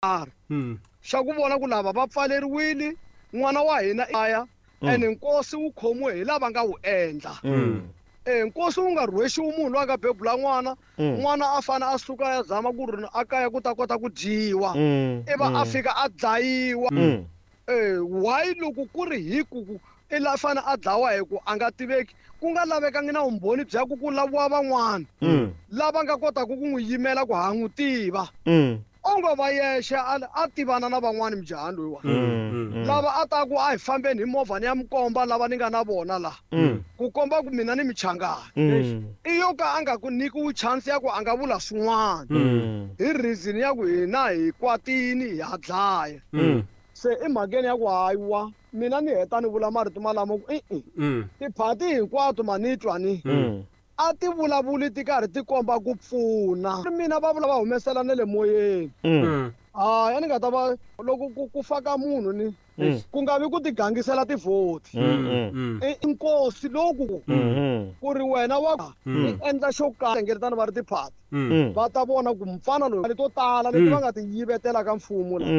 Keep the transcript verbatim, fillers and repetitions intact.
Karhi Mm. xa ku vona ku lava va pfaleriwile n'wana wa hina aya ene nkosi wu khomiwe hi lava nga wu endla. Mm. E nkosi wu nga rhwexiwi munhu loyi a nga bebula n'wana, n'wana a fane a suka ya zama ku ri a kaya ku ta kota ku dyiwa, Mm. ivi a fika a dlayiwa. Mm. Eh, why loko ku ri hi ku ku i la fane a dlawa hi ku a nga tiveki, ku nga lavekangi na vumbhoni bya ku ku laviwa van'wana Mm. lava nga kotaka ku n'wi yimela ku ha n'wi tiva? Mm. Onge va yexe a a tivana na van'wani mujahani loyiwa, Mm. lava a ta ku a hi fambeni hi movha ni ya mi komba lava ni nga na vona la, Mm. ku komba ku mina ni michangani. Mm. I yo ka a nga ku nyikiwi chance ya ku a nga vula swin'wana Mm. hi reason ya ku hina hi kwatini hi ha dlaya. Mm. Se emhakeni ya ku hayiwa, mina ni heta ni vula marito malamo ku i-i, Mm. tiphati hinkwato ma ni twa ni Mm. a ti vulavuli ti karhi ti komba ku pfuna, mina va vula va humesela na le moyeni. Mm. Mm. Hayi, a ni nga ta va loko ku ku faka munhu ni Mm. ku nga vi ku ti gangisela tivhoti. Mm. Mm. I nkosi loku Mm. ku ri wena wa Mm. i endla xo karhi, hlengeletana va ri tiphati, Mm. Mm. va ta vona ku mfana loyi to tala leti Mm. va nga ti yivetela ka mfumo la.